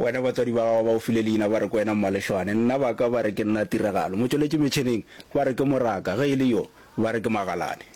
Wena batswadi ba gago ba o file leina ba re ke wena Mmalešwane, nna ba ka ba re ke nna Tiragalo. Motšweletši metšheneng ba re ke Moraka, ge e le yo ba re ke Magalane.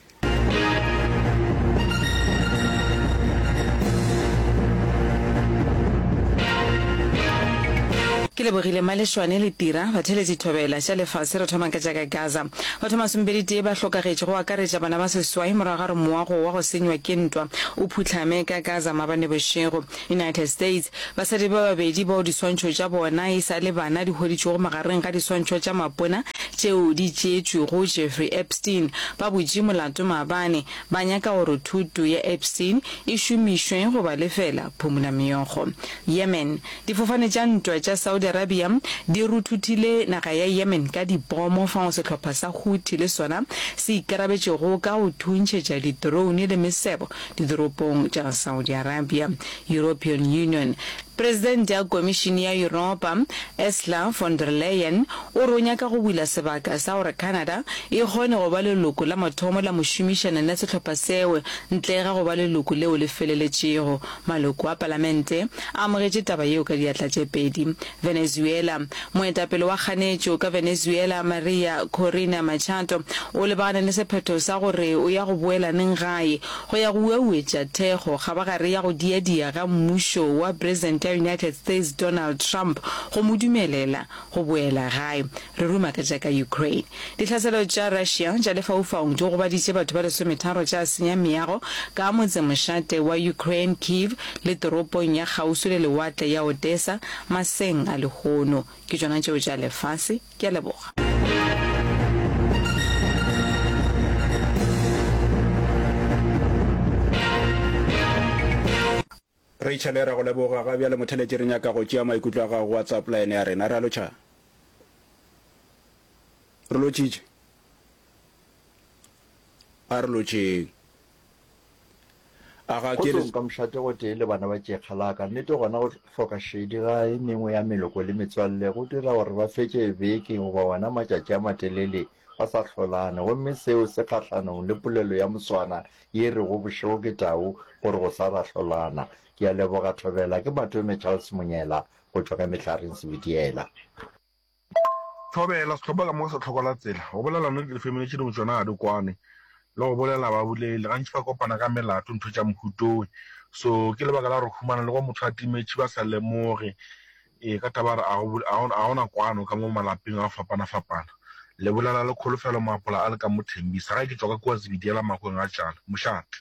Ke lebogile Malešwane le Tira, batheeletši thobela tša lefase re thoma ka tša ka Gaza. Batho masomepeditee ba hlokagetše go akaretša bana ba seswai morago ga gore moago wa go senywa ke ntwa o phuhlame ka Gaza maabane bošego. United States, Basadi ba babedi bao diswantšho tša bona e sa le bana di hweditšwego magareng ga diswantšho tša mapona tšeo di tšeetšwego Jeffrey Epstein ba butše molato maabane, ba nyaka gore thoto ya Epstein e šomišwe go ba lefela phumolameokgo. Yemen, Difofane tša ntwa tša Saudi Arabia di ruthuthile naga ya Yemen ka dipomo fao sehlopha sa Houthi le sona se ikarabetšego ka go thuntšhetša di-drone le mesebo ditoropong tša Saudi Arabia. European Union. Presidente ya Komišene ya Yuropa, Ursula von der Leyen, o re o nyaka go bula sebaka sa gore Canada e kgone go ba leloko la mathomo la mošomišani la sehlopha seo ntle ga go ba leloko leo le feleletšego. Maloko a palamente a amogetše taba yeo ka diatla tše pedi. Venezuela. Moetapele wa kganetšo ka Venezuela, Maria Corina Machado, o lebagane le sephetho sa gore o ya go boela neng gae go ya go uauetša thekgo kgabagare ya go diadia ga mmušo wa Presidente ya United States Donald Trump go mo dumelela go boela gae. Re ruma ka tša ka Ukraine. Ditlhaselo tša Russia tša lefaufaung di gobaditše batho ba lesometharo tša senya meago ka motsemošate wa Ukraine Kyiv le toropong ya kgauswi le lewatle ya Odesa maseng a lehono. Ke tšona tšeo tša lefase. Ke a leboga. Rachel, Re a go leboga. Ga bjale motheletši re nyaka go tšea maikutlo a gago go WhatsApp line ya rena. Re a lotšha. Re lotšitše. A re lotšeng. A ga ke. Kgotsong ka mošate gotee le bana ba tšekga la ka. Nnete gona go hloka šedi ga e mengwe ya meloko le metswalle go dira gore ba fetše beke goba ona matšatši a matelele ba sa hlolane gomme seo se kgahlanong le polelo ya Moswana ye e rego bošego ke tau gore go sa ra hlolana. Ke a leboga Thobela. Ke Matome Charles Monyela go tšwa ka Mehlareng Sebitiela. Thobela, Sehlopha ka moka sa Tlhoko la Tsela. Go bolela nnete difemili tše dingwe tšona ga di kwane, le go bolela ba bolele. Gantši ba kopana ka melato, ntho tša mohutowe. So ke lebaka la gore humana le go motho a timetše ba sa lemoge. Ee, ka taba ya gore a go, a go na kwano ka mo malapeng a go fapana-fapana. Le bolela le Kholofelo Maapola a le ka mo Thembisa. Gae ke tšwa ka kua Zebediela Makweng a Tšale. Mošate.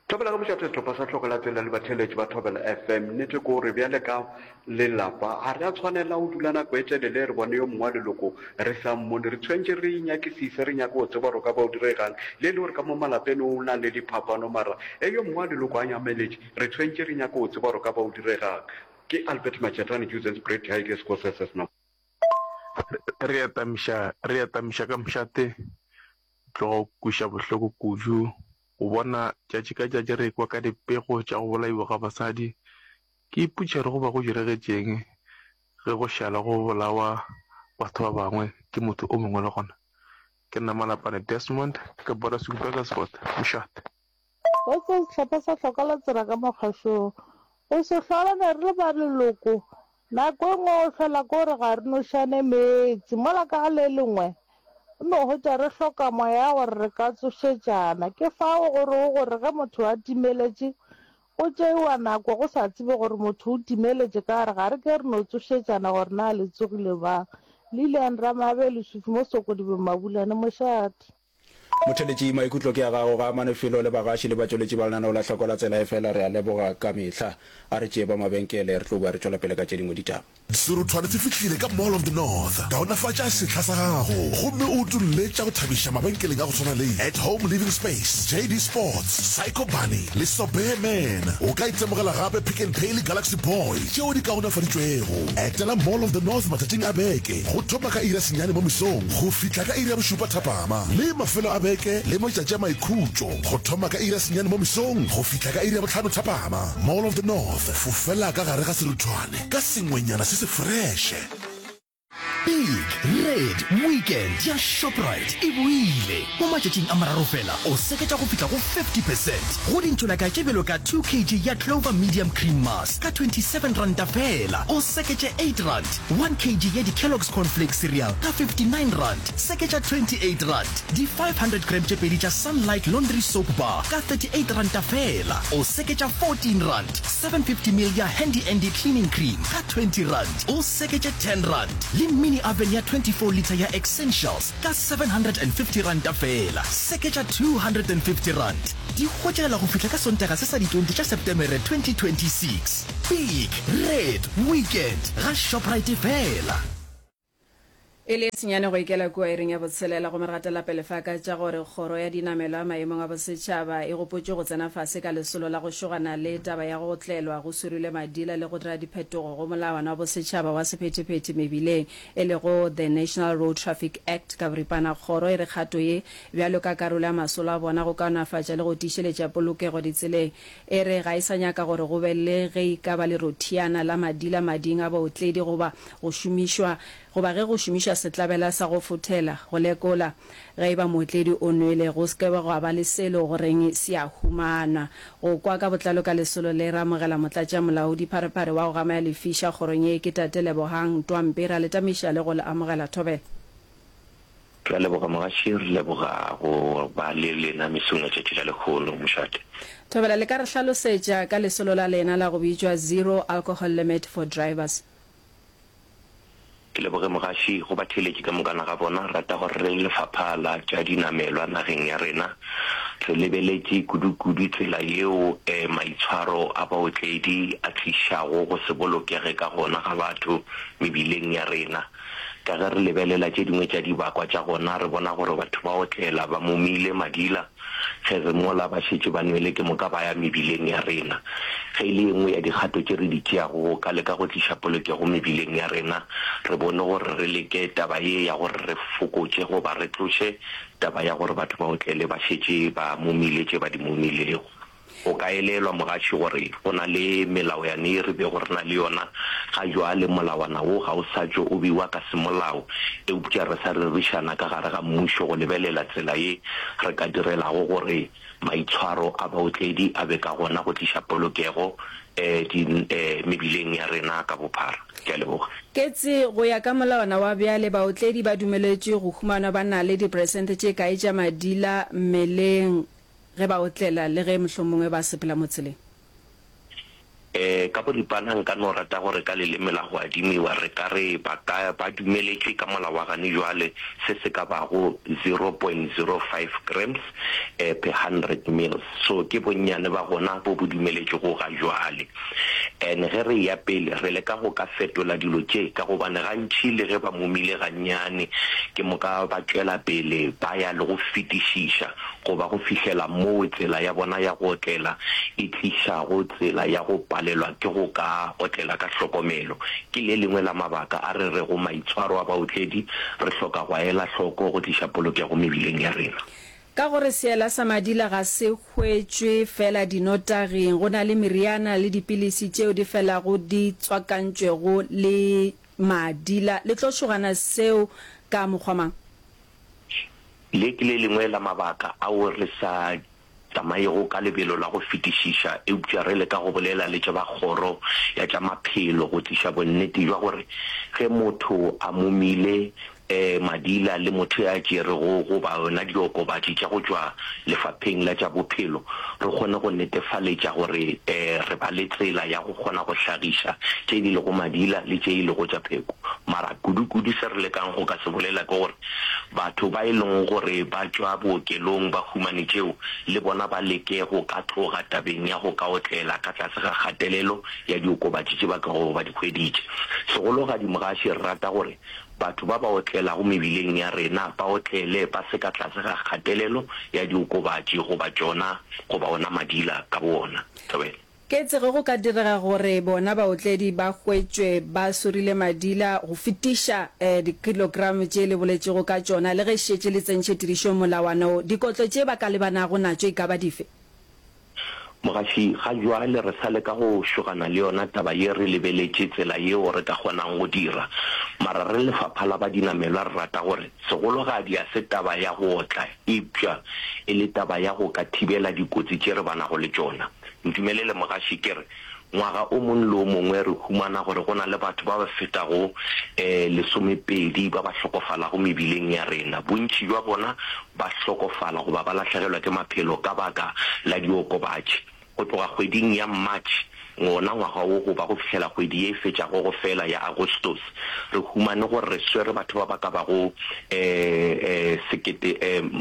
Thobela ka mošate sehlopha sa Tlhoko la Tsela le batheeletši ba Thobela FM. Nnete ke gore bjale ka lelapa ga re a tshwanela go dula nako e telele re bone yo mongwe wa leloko re sa mmone. Re tshwanetše re inyakisise re nyake go tseba gore o ka ba o diregang. Le e le gore ka mo malapeng o na le diphapano mara ge yo mongwe wa leloko a nyameletše re tshwanetše re nyake go tseba gore o ka ba o diregang. Ke Albert Machetane, Juzen's Great Ideas Courses No. Re atamiša, re atamiša ka mošate tloga go kweša bohloko kudu go bona tšatši ka tšatši re ekwa ka dipego tša go bolaiwa ga basadi. Ke ipotšiša gore go ba go diregetšeng ge go šala go bolawa batho ba bangwe ke motho o mongwe le gona. Ke nna Malapane Desmond ka Boratswing Burgersfort, Mošate. Kgotso sehlopha sa hloka la tsela ka mokgašong. Go se hlolane re le ba leloko, nako e nngwe go hlola ke gore ga re nošane meetse, mola ka go le lengwe o no hwetša re hloka moya wa gore re ka tsošetšana. Ke fao go rego gore ge motho a timeletše go tšeiwa nako go sa tsebe gore motho o timeletše ka gore ga re ke re no tsošetšana gore na le tsogile bang. Lilian Ramabe, Leswifi mo Sokodibeng Mabulane, Mošate. Motheeletši, maikutlo ke a gago, ga amane felo le bagaši le batšweletši ba lenaneo la Hloko la Tsela efela re a leboga ka mehla. A re tšee ba mabenkele, re tlo boa re tšwela pele ka tše dingwe ditaba. Seruthwane se fihlile ka Mall of the North. Kaonafatša sehla sa gago gomme o utolle tša go thabiša mabenkeleng a go swana le At Home Living Space, JD Sports, Psycho Bunny le Sobear Man. O ka itemogela gape Pick n Pay le Galaxy Boy tšeo di kaonafaditšwego. Etela Mall of the North matšatšing a beke go thoma ka iri ya senyane mo mesong go fihla ka iri ya bošupa thapama le mafelo a beke le matšatši a maikhutšo go thoma ka iri ya senyane mo mesong go fihla ka iri ya bohlano thapama. Mall of the North, fofela ka gare ga seruthwane ka sengwenyana se se freše. Big Red Weekend ya Shoprite e boile! Mo matšatšing a mararo fela, o seketša go fihla go 50 percent go dintšolaka tše bjalo ka 2 kg ya Clover Medium Cream Mass ka 27 ranta fela, o seketše 8 rand, 1 kg ya di-Kellogg's Corn Flakes Cereal ka 59 rand, seketša 28 rand, di 500 gram tše pedi tša Sunlight Laundry Soap Bar ka 38 ranta fela, o seketša 14 rand, 750 ml ya Handy Andy Cleaning Cream ka 20 rand, o seketše 10 rand, le mini oven ya 24 litre ya Essentials ka 750 ranta feela, seketša 250 rand. Di hwetšagala go fihla ka Sontaga se sa di 20 tša Setemere 2026. Big Red Weekend ga Shoprite feela. E le senyane go ikela kua iring ya botshelela gomme re gatela pele fa ka tša gore kgoro ya dinamelwa maemong a bosetšhaba e gopotšwe go tsena fase ka lesolo la go šogana le taba ya go tlelwa go swirilwe madila le go dira diphetogo go molawana wa bosetšhaba wa sephethephethe mebileng e lego The National Road Traffic Act ka boripana. Kgoro e re kgato ye bjalo ka karolo ya masolo a bona go kaonafatša le go tiišeletša polokego ditseleng e re ga e sa nyaka gore go be le ge e ka ba lerothiana la madila mading a baotledi goba go šomišwa Goba ge go šomišwa setlabela sa go fothela go lekola ge e ba mootledi o nwele, go se ke gwa ba le selo go reng se a humanwa. Go kwa ka botlalo ka lesolo le, re amogela Motlatšamolaodi Pharephare wa go gama ya lefiša kgorong ye ke Tate Lebohang Ntwampe. Re a le tamiša le go le amogela. Thobela. Re a leboga mogaši, re leboga go ba le lena mesong ya tšatši la lehono, mošate. Thobela, le ka re hlalosetša ka lesolo la lena la go bitšwa Zero Alcohol Limit for Drivers? Ke leboge mogaši go batheeletši ka mokana ga bona. Re rata gore re le lefapha la tša dinamelwa nageng ya rena re lebeletše kudu-kudu tsela yeo maitshwaro a baotledi a tlišago go se bolokege ka gona ga batho mebileng ya rena. Ka ge re lebelela tše dingwe tša dibakwa tša gona, re bona gore batho ba otlela ba momile madila Ge re mola ba šetše ba nwele ke moka ba ya mebileng ya rena. Ge e le ye nngwe ya dikgato tše re di tšeago go ka leka go tliša polokego mebileng ya rena, re bone gore re leke taba ye ya gore re fokotše goba re tloše taba ya gore batho ba otlele ba šetše ba momile tše ba di momilego. O ka elelwa, mogaši, gore go na le melaoyane ye re bego re na le yona. Ga bjale molawana wo ga o sa tšo o bewa ka semolao, eupša re sa rerišana ka gare ga mmušo go lebelela tsela ye re ka direlago gore maitshwaro a baotledi a be ka gona go tliša polokego mebileng ya rena ka bophara. Ke a leboga. Ketse, go ya ka molawana wa bjale, baotledi ba dumeletšwe go humanwa ba na le diperesente tše kae tša madila mmeleng? Ge ba otlela le ge mohlomongwe ba sepela mo tseleng. Ee, ka boripana nka no rata gore ka leleme la go adimiwa re ka re ba ka ba dumeletšwe ka molao wa gane jwale se se ka bago 0.05 grams per hundred mils. So ke bonnyane ba gona bo bo dumeletšwego ga jwale. And ge re eya pele re leka go ka fetola dilo tše ka gobane gantši le ge ba momile gannyane ke moka ba tšwela pele ba ya le go fetišiša goba go fihlela moo tsela ya bona ya go otlela e tlišago tsela ya go palelwa ke go ka otlela ka hlokomelo. Ke le lengwe la mabaka a re rego maitshwaro a baotledi re hloka go a ela hloko go tliša polokego mebileng ya rena. Ka gore seela sa madila ga se hwetšwe feela dinotaging, go na le meriana le dipilisi tšeo di felago di tswakantšwego le madila. Le tlo šogana seo ka mokgwa mang? Le ke le lengwe la mabaka ao re sa tsamayego ka lebelo la go fetišiša eupša re leka go bolela le tša ba kgoro ya tša maphelo go tliša bonnete bja gore ge motho a momile madila le motho ya tšerego goba yona diokobatši tša go tšwa lefapheng la tša bophelo re kgone go netefaletša gore re ba le tsela ya go kgona go hlagiša tše di lego madila le tše e lego tša pheko. Mara kudu-kudu se re lekang go ka se bolela ke gore Batho ba e lego gore ba tšwa bookelong ba humane tšeo, le bona ba leke go ka tloga tabeng ya go ka otlela ka tlase ga kgatelelo ya diokobatši tše ba tlogo ba di hweditše. Segologadi Mogaši re rata gore batho ba ba otlelago mebileng ya rena ba otlele ba se ka tlase ga kgatelelo ya diokobatši goba tšona goba ona madila ka bowona. Thobela. Ketse ge go ka direga gore bona baotledi ba hwetšwe ba sorile madila go fetiša dikilogramo tše le boletšego ka tšona, le ge šetše le tsentšhe tirišong molawana wo, dikotlo tše ba ka lebanago natšo e ka ba dife? Mogaši, ga bjale re sa leka go šogana le yona taba ye re lebeletše tsela yeo re ka kgonang go dira. Mara re lefapha la ba dinamelwa re rata gore segologadi a se taba ya go otla eupša e le taba ya go ka thibela dikotsi tše re banago le tšona. Ntumelele mogaši ke re Ngwaga o mongwe le o mongwe re humana gore go na le batho ba ba fetago lesomepedi ba ba hlokofalago mebileng ya rena. Bontši bja bona ba hlokofala goba ba lahlegelwa ke maphelo ka baka la diokobatši. Go tloga kgweding ya March wona ngwaga wo go ba go fihlela kgwedi ye e fetšago go fela ya Agostose, re humane gore re swere batho ba ba ka bago sekete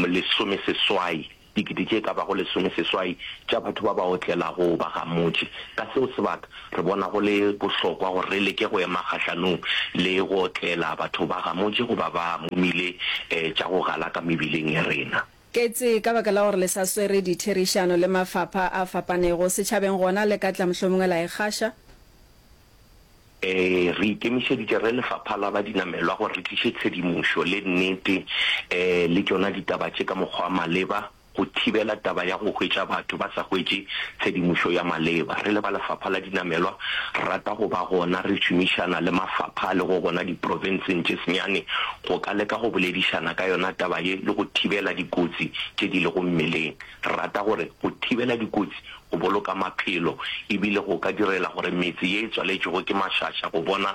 lesomeseswai. Dikete tše ka bago lesomeseswai tša batho ba ba otlelago ba gamotše. Ka seo sebaka, re bona go le bohlokwa gore re leke go ema kgahlanong le go otlela batho ba gamotše goba ba momile tša go galaka mebileng ya rena. Ketse, ka baka la gore le sa swere ditherišano le mafapha a fapanego setšhabeng gona le ka tla mohlomongwe la e gaša? Ee, re ikemišeditše re lefapha la ba dinamelwa gore re tliše tshedimošo le nnete le tšona ditaba tše ka mokgwa wa maleba go thibela taba ya go hwetša batho ba sa hwetše tshedimošo ya maleba. Re le ba lefapha la dinamelwa re rata go ba gona re šomišana le mafapha a lego gona diprofenseng tše senyane go ka leka go boledišana ka yona taba ye le go thibela dikotsi tše di lego mmeleng. Re rata gore go thibela dikotsi go boloka maphelo e bile go ka direla gore metse ye e tswaletšwego ke mašaša go bona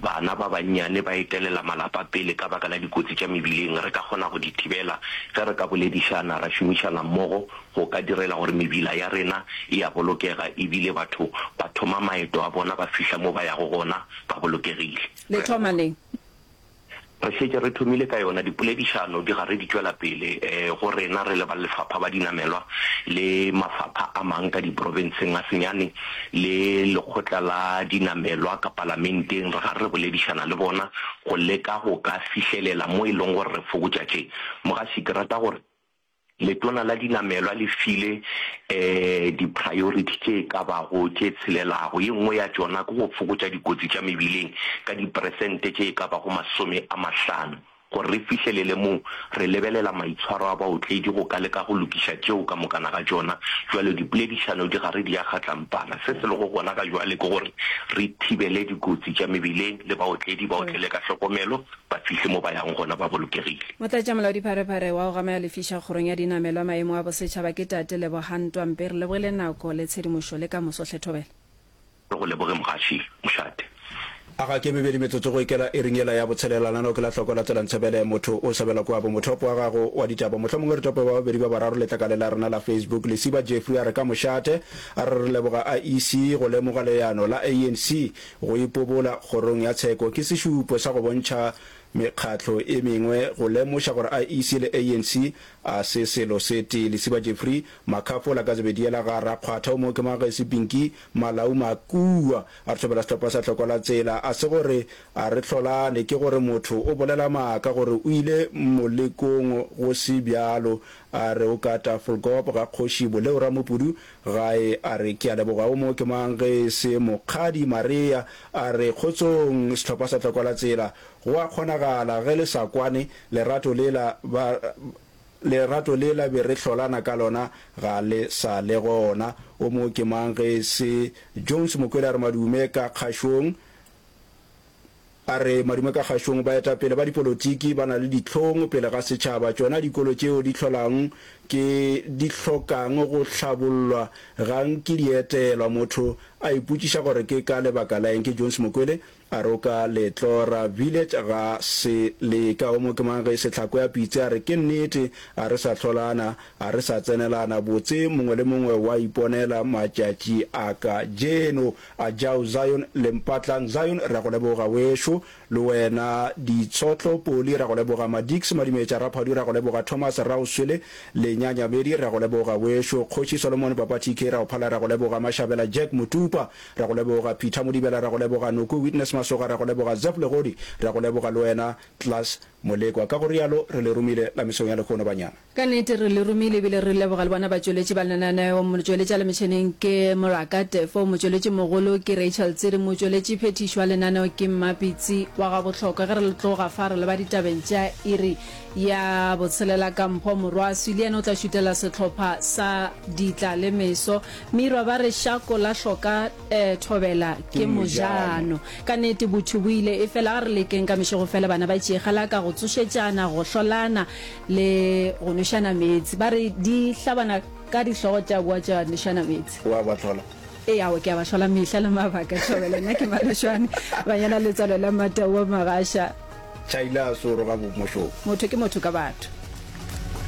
bana ba bannyane ba etelela malapa pele ka baka la dikotsi tša mebileng re ka kgona go di thibela ge re ka boledišana ra šomišana mmogo go ka direla gore mebila ya rena e a bolokega e bile batho ba thoma maeto a bona ba fihla mo ba yago gona ba bolokegile. Le thoma neng? Re šetše re thomile ka yona. Dipoledišano di gare di tšwela pele go rena re le ba Lefapha ba Dinamelwa le mafapha a mang ka diprofenseng a senyane le Lekgotla la Dinamelwa ka Palamenteng. Re gare re boledišana le bona go leka go ka fihlelela mo e leng gore re fokotša tše. Mogaši, ke rata gore Letona la dinamelwa le file di-priority tše e ka bago tše tshelelago. Ye nngwe ya tšona ke go fokotša dikotsi tša mebileng ka diperesente tše e ka bago 50. Gore re fihlelele moo, re lebelela maitshwaro a baotledi go ka leka go lokiša tšeo ka mokana ga tšona. Bjalo dipoledišano di gare di a kgatlampana. Se se lego gona ga bjale ke gore re thibele dikotsi tša mebileng le baotledi ba otlele ka hlokomelo ba fihle mo ba yang gona ba bolokegile. Motlatšamolaodipharephare wa go gamela lefiša kgorong ya dinamelwa maemo a bosetšhaba ke Tate Lebogang Ntwampe. Re lebogile nako le tshedimošo le ka moso hle Thobela. Re go leboge mogaši mošate. A ga ke mebedi metsotso go ikela iring yela ya botshelela lenaneo ke la hloko la tsela ntshebele motho o sebela kua bo mothopo wa gago wa ditaba mohlomongwe re tope ba babedi ba bararo letlakaleng la rena la Facebook Lesiba Jeffrey a re ka mošate a re re leboga IEC go lemoga leano la ANC Go ipobola kgorong ya tsheko ke sešupo sa go bontšha mekgatlo e mengwe go lemoša gore IEC le ANC a se selo se tee. Lesiba Jeffrey, Makhafola ka Zebediela ga Rakgwatha o mo ke Magesi Pinky Malau Makua a re thobela sehlopha sa Hlokwa la Tsela. A se gore a re hlolane, ke gore motho o bolela maaka gore o ile molekong go se bjalo. A re o ka Tafelkop ga Kgoši Boleo Ramopudu Gae a re, Ke a leboga. O mo ke mang ge e se Mokgadi Maria? A re, Kgotsong, sehlopha sa Tlokwa la Tsela. Go a kgonagala ge le sa kwane, lerato lela ba, lerato lela be re hlolana ka lona ga le sa le gona. O mo ke mang ge e se Jones Mokwele a re, Madume ka kgašong. A re, Madume ka kgašong, baetapele ba dipolotiki ba na le dihlong pele ga setšhaba. Tšona dikolo tšeo di hlolang ke di hlokang go hlabollwa ga nke di etelwa. Motho a ipotšiša gore ke ka lebaka la eng. Ke Jones Mokwele a re o ka Letlora Village ga se leka. O mo ke mang ge Sehlako ya Pitse a re ke nnete a re sa hlolana, a re sa tsenelana botse mongwe le mongwe wa iponela matšatši a kajeno. A Jau Zion le Mpatlang Zion re a go leboga wešo, le wena Ditshotlo Poli re a go leboga, Madix Madimetša Raphadu re a go leboga, Thomas Raoswele Lenyanyamedi re a go leboga wešo, Kgoši Solomon Papa TK re a go phala re a go leboga, Mashabela Jack Motupa re a go leboga, Peter Modibela re a go leboga, Noko Witness Masoga re a go leboga, Zeph Legodi re a go leboga le wena Klaas. Molekwa. Ka go rialo, re le romile la mesong ya lehono, banyana. Ka nnete re le romile ebile re leboga le bona batšweletši ba lenaneo. Motšweletši a le metšheneng ke Moraka Tefo, motšweletši mogolo ke Rachel Tsiri, motšweletši phethiši wa lenaneo ke Mmapitsi wa Gabohlokwa. Ge re le tloga fa re leba ditabeng tša iri ya botshelela ka Mpho Morwaswi le yena o tla šutela sehlopha sa Ditla le Meso. Mirwa ba re šako la hloka thobela ke mojano. Ka nnete botho bo ile, efela a re lekeng ka mešegofela bana ba tšeegalaka go tsošetšana, go hlolana le go nwešana meetse. Ba re di hlabana ka dihlogo tša boa tša nwešana meetse. O a ba hlola? Ee, aowa ke a ba hlola mehla le mabaka, thobela. Nna ke Malešwane, banyana letswalo la Mmatau wa Magasha. Tšhaila a soro ga bo mošomo. Motho ke motho ka batho.